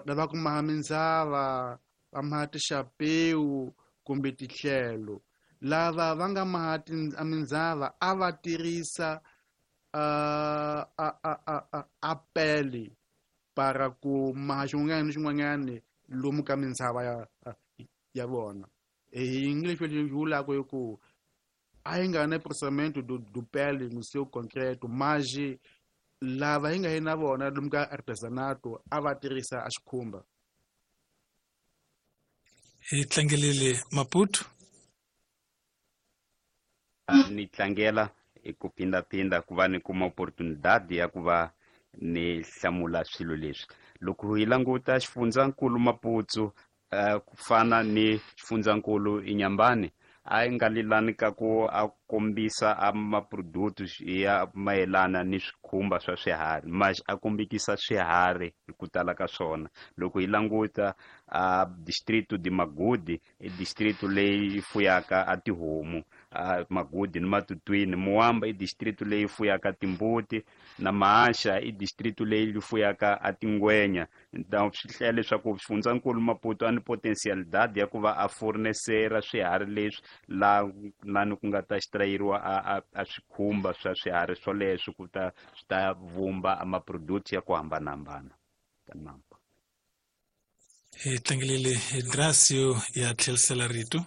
A: lava ku maha mindzava, va maha tixapewu kumbe titlhelo, lava va nga maha mindzava a va tirhisa a pele para ku maha xin'wana ni xin'wanyana lomu ka mindzava ya vona. Hi English leswi vulaka hi ku a yi nga na processamento do pele no seu concreto, mas lava hi nga yi na vona lomu ka artesanato a va tirhisa a xikhumba.
F: Hi tlangelele Maputo.
E: Ni tlangela hi ku phindaphinda ku va ni kuma opportunidade ya ku va ni hlamula swilo leswi. Loko hi languta xifundzankulu Maputo ku fana ni xifundzankulu Inhambane, a yi nga lilani ka ku a kombisa a maproduto ya mayelana ni swikhumba swa swiharhi, mas a kombekisa swiharhi hi ku tala ka swona. Loko hi languta a distrito de Magude, i distrito leyi fuyaka a tihomu, Magude ni Matutuine. Moamba i distrito leyi fuyaka timbuti, na Maasha i distrito leyi fuyaka a tingwenya. Então swi hlaya leswaku xifundzankulu Maputo a ni potencialidade ya ku va a fornesera swiharhi leswi la lani ku nga ta extrayeriwa a swikhumba swa swiharhi swoleswo ku ta swi ta vumba a maproduct ya ku hambanahambana ta nampa.
F: Hi tlangelele Gracio ya tlherisela rito.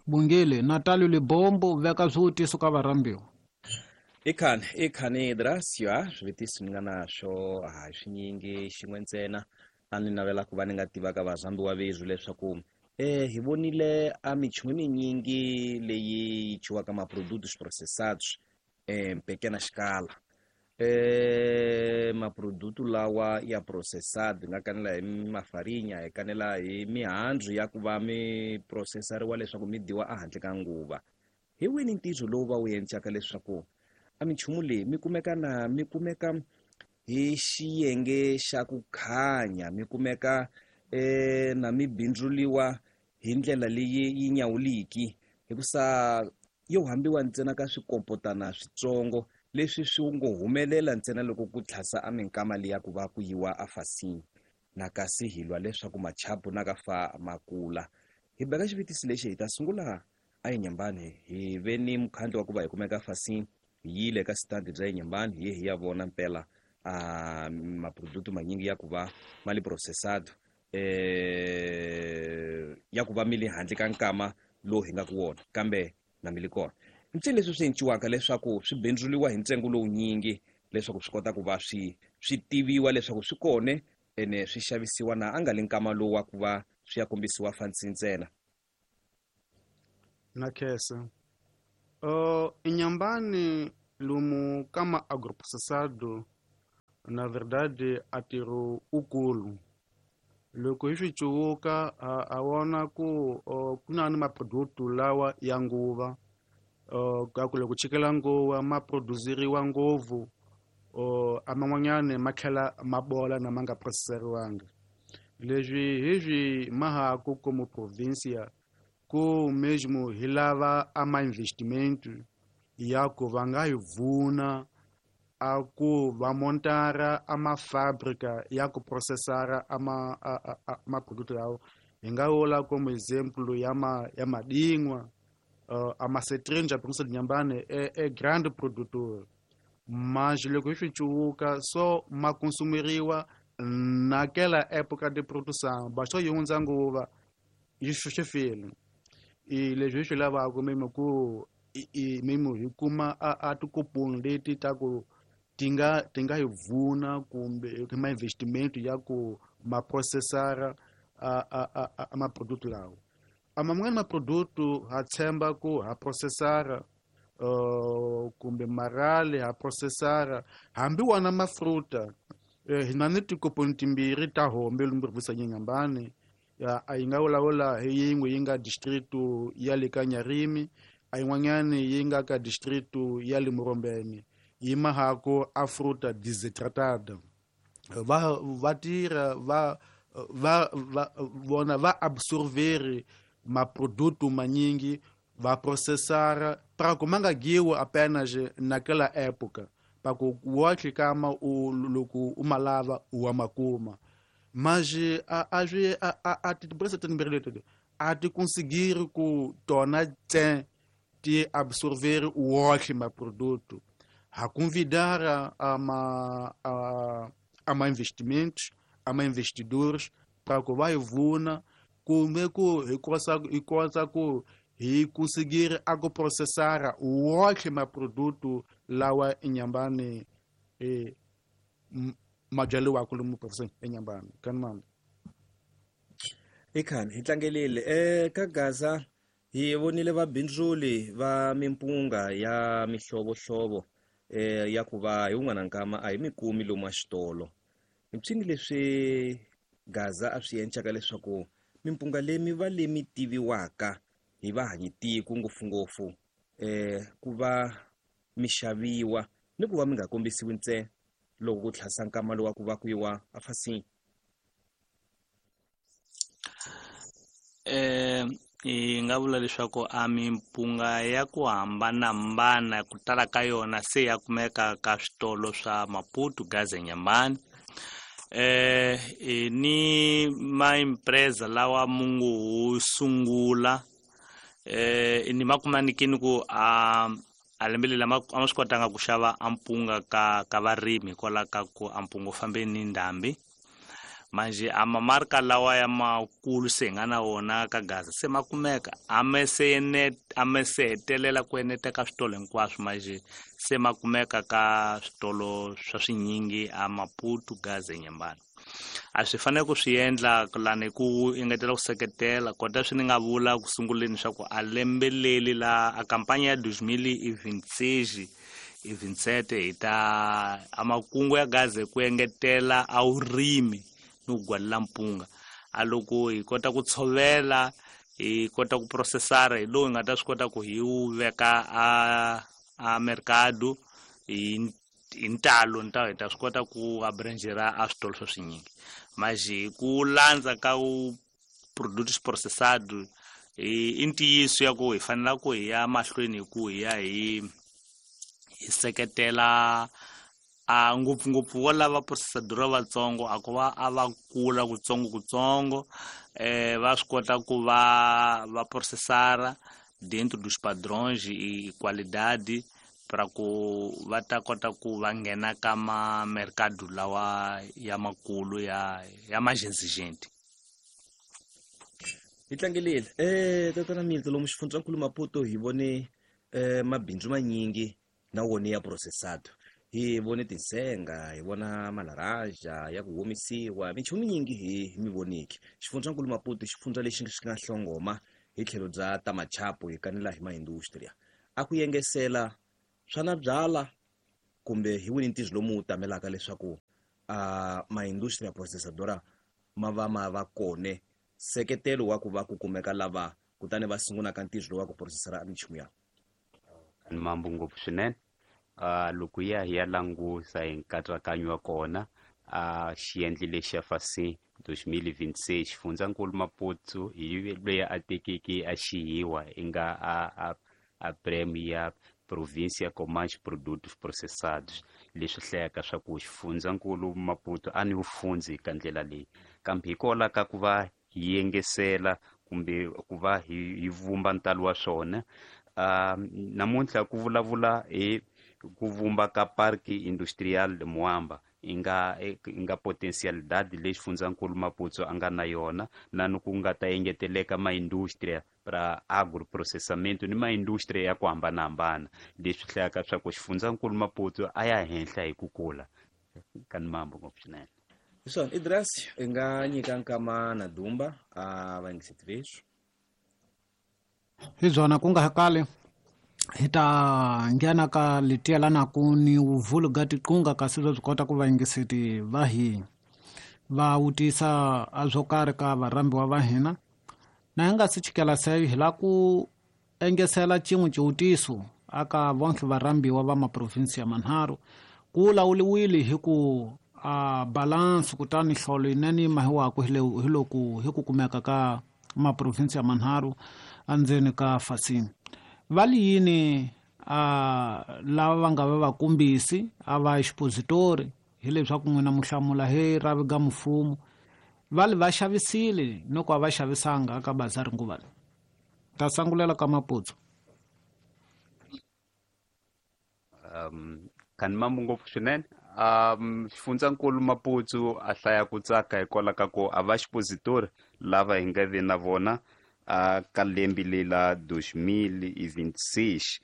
B: Bungile Natalio Libombo veka swivutiso ka varhambiwa.
C: Ikhani Gracio swivutiso ni nga na swo a swinyingi xin'we ntsena a ni navela ku va ni nga tivaka varhambiwa vezwu leswaku hi vonile a michumu minyingi leyi ciwaka maprodutos processados pequena escala. Maproduto lawa ya processado nga kanela hi mafarinya, hi kanela hi mihandzu ya ku va mi processariwa leswaku mi dyiwa ehandle ka nguva. Hi wini ntirho lowu va wu endlaka leswaku a michumu leyi mi kumeka na mi kumeka hi xiyenge xa ku khanya, mi kumeka na mi bindzuliwa hi ndlela leyi yi nyawuliki, hikusa yo hambiwa ntsena ka swikompotana switsongo leswi swi ngo humelela ntsena loko ku tlhasa a minkama liya ku va ku yiwa a fasini na kasi hi lwa leswaku machapu na ka fa makula. Hi beka xivutiso lexi hi ta sungula a Inhambane, hi ve ni mukhandlu wa ku va hi kumeka fasini, hi yile ka stand bya Inhambane hi ye hi ya vona mpela a maproduto manyingi ya ku va ma li processado ya ku va mi le handle ka nkama lowu hi nga ku wona, kambe na mi li kona. Mpfini leswi swi enciwaka leswaku swi bindzuliwa hi ntsengo lowunyingi leswaku swi kota ku va swi swi tiviwa leswaku swi kone ene swi xavisiwa na a nga li nkama lowu wa ku va swi ya kombisiwa fansi ntsena.
A: Na khensa. Inhambane lomu kama agroprocessado, na verdade a ntirho ukulu. Loko hi swi cuvuka a vona ku ku na ni maproduto lawa ya nguva, ka ku loko chikela nguva ma produseriwa ngopfu, a man'wanyani ma tlhela ma bola na ma nga processeriwanga. Leswi hi swi mahaku como província ku mesmo hi lava a ma investimento ya ku va nga hi vuna a ku va montara a mafábrica ya ku processara a ma a maproduto lawa. Hi nga vula como exemplo ya ma ya madingwa, a macetrinja província de Inhambane é grande produtor, mas loko hi swi cuvuka so ma consumeriwa naquela época de produção, bastou yi hundza nguva yi swi file. I leswi hi swi lavaka mimo ku i mimo hi kuma a tikuponi leti ta ku ti nga hi vuna kumbe ma investimento ya ku ma processara a maproduto lawa. A man'wani maproduto ha tshemba ku ha processara, kumbe marali ha processara, hambi wona mafruta. Hi na ni tikoponi timbirhi ta hombe lomu província ya Inhambane. A yi nga vulavula hi yin'we yi nga distrito ya le ka Nyarimi, a yin'wanyani yi nga ka distrito ya le Morombene, yi mahako a fruta desidratada. Va tirha va va va vona va absorveri maproduto manyingi, va processara para ku ma nga dyiwi apenas naquela época, para ku wohle kama u loko u ma lava u wa makuma. Mas a swi a tiempresa timbirhi leti a ti conseguir ku tona tse ti absorver wohle maproduto. Ha convidar a ma investimentos, a ma investidores para ku va hi vuna kumbe ku hi kota ku hi conseguir a ku processara wohle maproduto lawa Inhambane ma byariwaka lomu province Inhambane. Kanimambe.
C: Ikhani hi tlangelile ka Gaza hi vonile vabindzuli va mimpunga ya mihlovohlovo ya ku va hi wun'wana nkama a hi mikumi lomu a xitolo. Mpyini leswi Gaza a swi encaka leswaku mimpunga leyi mi va leyi tiviwaka hi vahanyitiko ngopfungopfu ku va mi xaviwa ni ku va mi nga kombisiwi ntsena loko ku tlhasa nkama lowu wa ku va ku yiwa afasini.
D: Hi nga vula leswaku a mimpunga ya ku hambanahambana ku tala ka yona se ya kumeka ka switolo swa Maputo, Gaza, Inhambane. Ni maempresa lawa mungu sungula ni ma kuma nikini ku a lembe leri a ma swi kotanga ku xava ampunga ka varimi hikwalaho ka ku ampunga wu fambe ni ndhambi. Manje a mamarka lawa ya makulu se hi nga na wona ka Gaza se ma kumeka, a me se hetelela ku eneta ka switolo hinkwaswo, manje se ma kumeka ka switolo swa swinyingi a Maputo, Gaza, Inhambane. A swi fanele ku swi endla lani ku engetela ku seketela kota swi ni nga vula ku sunguleni swa ku a lembe leri la a kampanya ya 2026 i 27 hi ta a makungu ya Gaza ku engetela a vurimi ni ku gwalela mpunga. A loko hi kota ku tshovela, hi kota ku processara, hi lowu hi nga ta swi kota ku hi wu veka a mercado hi ntalo nta hi ta swi kota ku abrangera a switolo swa swinyingi. Mas hi ku landza ka produtos processado i ntiyiso ya ku hi fanela ku hi ya mahlweni hi ku hi ya hi seketela a ngopfungopfu vo lava processador vatsongo a ku va a va kula kutsongo kutsongo, va swi kota ku va processara dentro dos padrões e qualidade para ku va ta kota ku va nghena ka ma mercado lawa ya makulu ya mais exigente.
C: Hi tlangelile tatana Milton lomu xifundzankulu Maputo hi vone mabindzu manyingi na wona ya processado. Hi vone tinsenga, hi vona malaraja ya ku omisiwa, minchumu nyingi hi mi voniki. Xifundzankulu Maputo xifundza lexi xi nga hlongoma hi tlhelo bya ta machapo hi kanela hi maindustria. A ku yengesela swana byala kumbe hi wini ntirho lomu wu tamelaka leswaku maindustria processadora ma va ma va kone seketelo wa ku va ku kumeka lava kutani va sungulaka ntirho lowu wa ku processara minchumu ya
E: mambo ngopfu swinene. Loko ya hi ya langusa hi nkatsakanyo wa kona xiendli lexi xa fasi 2026 xifundzankulu Maputo hi loyi a tekeke a xihiwa i nga a prêmio ya província com mais produtos processados, leswi hlayaka swa ku xifundzankulu Maputo a ni vufundzi ka ndlela leyi, kambe hikwalaho ka ku va hi yengesela kumbe ku va hi vumba ntalo wa swona. Namuntlha ku vulavula hi ku vumba ka Parque Industrial de Moamba i nga potencialidade leyi xifundzankulu Maputo a nga na yona, na ni ku nga ta engeteleka maindustria ra agroprocessamento ni maindustria ya ku hambanahambana, leswi hlayaka swa ku xifundzankulu Maputo a ya henhla hi ku kula ka ni mambo ngopfu swinene.
C: Hiswona Idris, i nga nyika nkama na Dumba a va yingiseti leswi
B: hi byona ku nga kale hi ta nghena ka letielanaku ni vuvulu ga tiqunga, kasi byo byi kota ku vayingiseti va hina va wutisa a swo karhi ka varhambiwa va hina. Na hi nga si chikela seyo hi la ku engesela xin'we xiwutiso aka vonke varhambiwa va maprovinsi ya manharhu. Ku lawuliwile hi ku a balance kutani hlolo yinene yi mahiwaku hi loko hi ku kumeka ka maprovinsi ya manharhu endzeni ka fasini. Va li yini lava va nga va vakombisi a va expositori hileswaku n'wina muhlamula hi ravi ga mfumo, va li va xavisile no ku a va xavisanga ka bazari nguva leyi? Ta sangulela ka Maputo.
E: Kani mambo ngopfu swinene. Xifundzankulu Maputo a hlaya ku tsaka hikwalaho ka ku a va expositori lava hi nga vi na vona ka lembe lela 2026.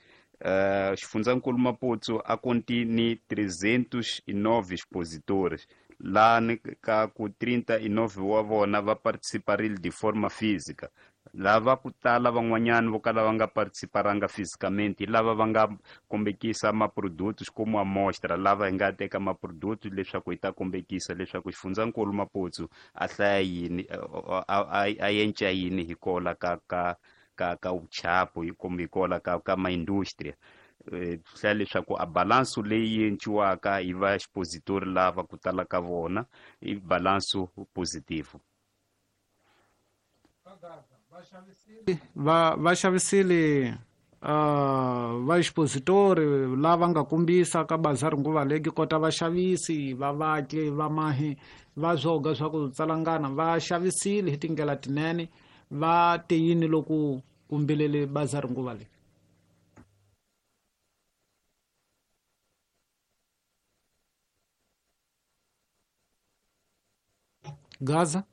E: Xifundzankulu Maputo a konti ni 309 expositores, laha ni ka ku 39 wa vona va participarile de forma física. Lava ku tala van'wanyana vo kala va nga participaranga fisicamente lava va nga kombekisa maprodutos como amostra, lava hi nga teka maprodutos leswaku hi ta kombekisa leswaku xifundzankulu Maputo a hlaya yini, a yenca yini hi kola ka vuchapo kumbe hi kola ka maindustria. Hlaya leswaku a balanso leyi enciwaka hi va expositori lava ku tala ka vona i balanso positivo.
B: Va xavisile va expositori lava nga kombisa ka bazari nguva leyi kota vaxavisi va vatli va mahi va zwoga swa ku tsalangana va xavisile hi tindlela tinene. Va te yini loko kumbelele bazari nguva leyi? Gaza?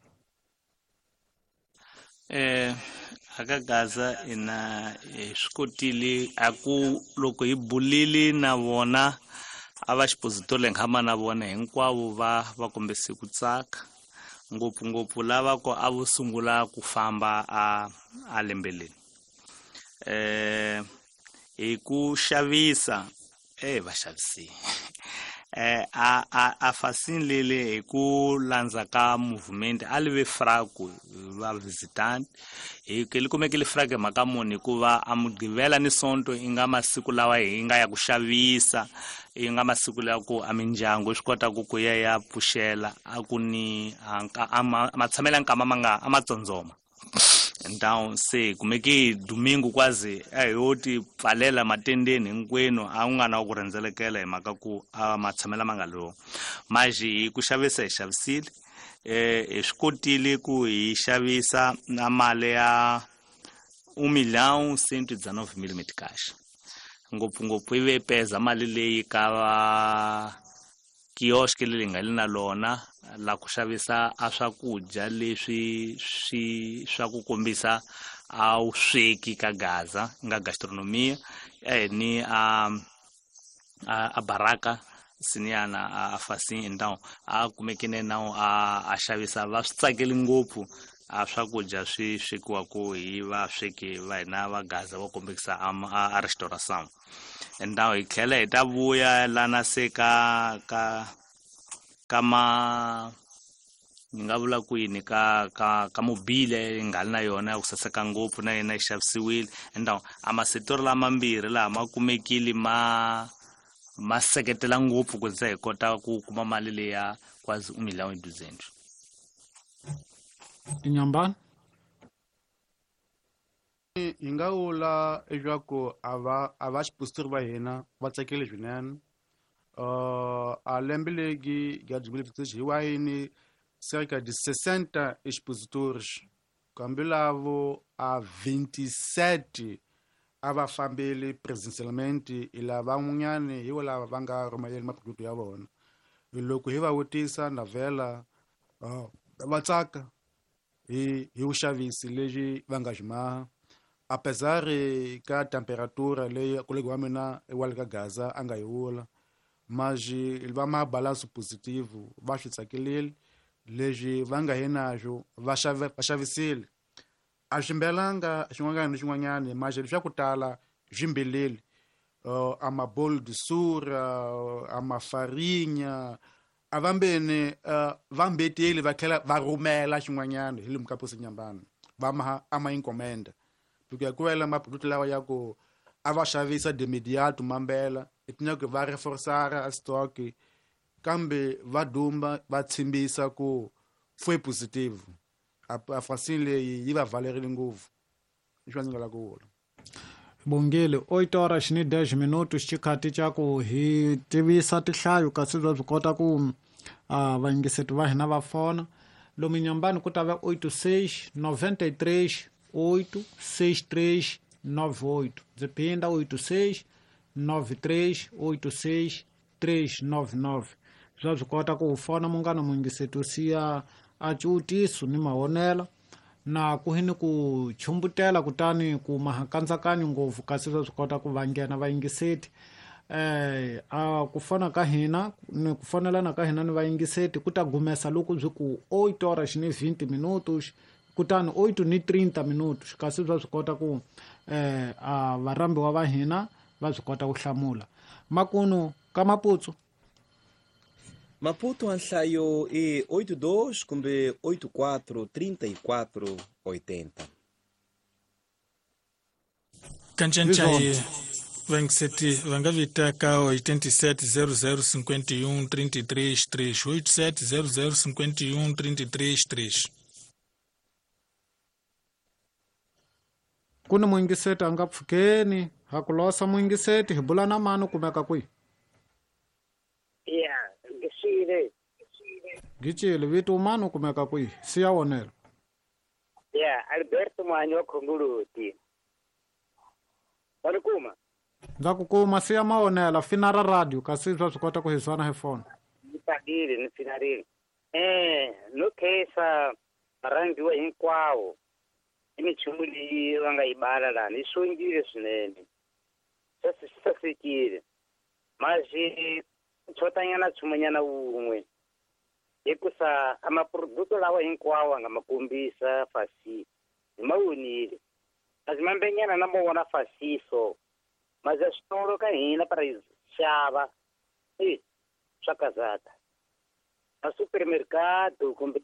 D: Aka Gaza ina swi kotile a ku loko hi bulile na vona a va expositor leyi nga na vona hinkwavo va kombise ku tsaka, ngopfungopfu lava ku a vo sungula ku famba a lembeleni. Hi ku xavisa va xavisile a fasini lele hi ku landza ka movement a li ve fraku va visitant hi ke li kumeke li frake mhaka muni, hikuva a Mugqivela ni Sonto i nga masiku lawa hi nga ya ku xavisa, i nga masiku lawa ku a mindyangu yi swi kota ku ya ya pfuxela a ku ni a matshamelo ya nkama ma nga a ma tsondzoma. Então se kumeke domingo quase a yo ti pfalela matendeni hinkwenu a ku nga na ku rhendzelekela hi mhaka ku a matshamelo ma nga lowo. Mas hi ku xavisa hi xavisile, hi swi kotile ku hi xavisa na mali ya 1.119.000 meticais, ngopfungopfu yi ve peza mali leyi ka va kiosk leyi nga le na lona la ku xavisa a swakudya leswi swi swa ku kombisa a wu sweki ka Gaza nga gastronomia ni a baraka Siniana a Facim, então a kumekene nawo a xavisa va swi tsakeli ngopfu a swakudya swi swekiwaka hi vasweki va hina va Gaza va kombekisa a restauração. Então hi tlhela hi ta vuya lana se ka ka ka ma ni nga vula ku yini ka ka ka mobile yi nga ri na yona ya ku saseka ngopfu na yena yi xavisiwile. Então a masetori lamambirhi laha ma kumekile ma seketela ngopfu ku ze hi kota ku kuma mali leya quase 1 milhão e 200.
B: Inyambani
A: hi nga vula leswaku a va xipusitiri va hina va tsakile swinene. A lembe legi ya 2026 hi wayini cerca de 60 expositores, kambe lavo a 27 a va fambeli presencialmente, hi lava van'wanyani hi lava va nga rhumeleli maproduct ya vona. Loko hi va vutisa na vhela va tsaka hi vuxavisi lebyi va nga byi maha, apesar ka temperatura leyi kolegi wa mina wa le ka Gaza a nga yi vula, mas va ma balanço positivo, va swi tsakelile leswi va nga hi naxo va xavisile. A swi mbelanga xin'wanyana ni xin'wanyana, mas leswi swa ku tala swi mbeleli, a mabolo de sura, a mafarinha, a vambeni va mbeteli va tlhela va rhumela xin'wanyana hi lomu ka Nyambani va ma a ma encomenda, porque ku wela maproduct lawa ya ku a va xavisa de imediato mambela etinyako va reforçar a stock, kambe va dumba va tshimbisa ku foi positivo. A Facim leyi yi va valerile ngopfu, leswi ndzi nga lava ku vula.
B: Bongile 8 horas ni 10 minutos xikhathi xa ku hi tivisa tinhlayo kasi bya swi kota ku vayingiseti va hina va fona lomu Nyambani ku ta va 86 93 8 63 98. Ndzi phinda 86 93 86 399. Swa swi kota ku fona munghana muyingiseti u siya a ciutiso ni mahonela na ku hini ku chumbutela kutani ku mahakandzakanyo ngopfu kasi swa swi kota ku va nghena vayingiseti. A ku fona ka hina ni ku fonelana ka hina ni vayingiseti ku ta gumesa loko byi ku 8 horas ni 20 minutos kutani 8 ni 30 minutos kasi swa swi kota ku a varhambiwa va hina va swi kota ku hlamula. Makunu ka Maputo.
C: Maputo a nhlayo i 82 kumbe 84 34 80.
F: Kancancayi vangiseti va nga vita ka 87 00 51 33 3, 87 00 51 33 3.
B: Ku ni muyingiseti a nga pfukeni ha ku losa muyingiseti hi bula na mani u kumeka kwihi?
G: Ya, ngisile.
B: Gicile vito mani u kumeka kwihi? Siya wonelo.
G: Ya, Alberto Mwanyi wa Khongoloti. Wa ni kuma?
B: Ndza ku kuma, siya mawonela fina ra radio kasi swa swi kota ku hi zwana hi fona.
G: Ni tsakile ni finarile. No khensa varhangiwa hinkwavo i minchumu leyi va nga yi bala lani yi xongile swinene, swi sasekile. Mas chotanyana nchumunyana wun'we hikusa a maproduto lawa hinkwawo a nga ma kombisa Facim hi ma vonile, kasi mambenyana na mo vona Facim so mas a switolo ka hina para hi xava swa kazata ma supermercado kumbe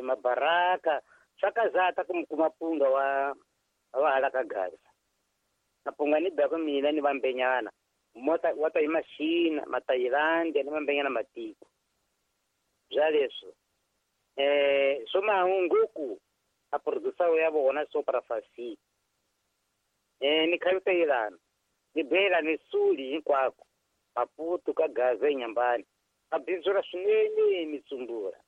G: mabaraka swa kazata ku mi kuma punga wa hala ka Gaza. Na punga ni baka mina ni vambenyana mota wa ta hi Machina, Matailandia ni mambenyana matiko bya leswo. Swo mahunguku a producer ya vona so para Facim. Ni khalutelana ni bela ni suli hinkwako Maputo ka Gaza eNyambani a bindzula swinene mitsumbula.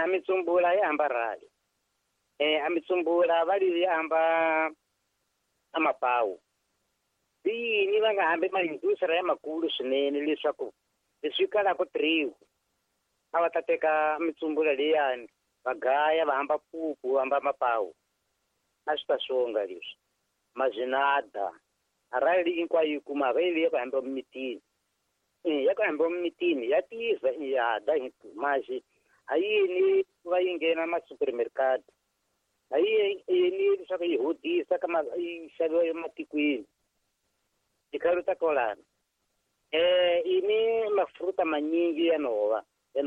G: Mitsumbula ya hamba rali, a mitsumbula va li ya hamba a mapawu yini va nga hambi maindustria ya makulu swinene leswaku leswi kalaka triwo a va ta teka mitsumbula leyani va gaya va hamba pupu va hamba mapawu a swi ta xonga leswi mazinada arali hinkwayo yi kumaka yi leyi ku hamba mimitini. Ya ku hamba mitini ya tisa ya da maxi a yini va yi nghena ma-supermercado a yini leswaku yi hodisa ka yi xaviwa ematikweni tikhalo ta kolana ini mafruta manyingi ya nhova ya.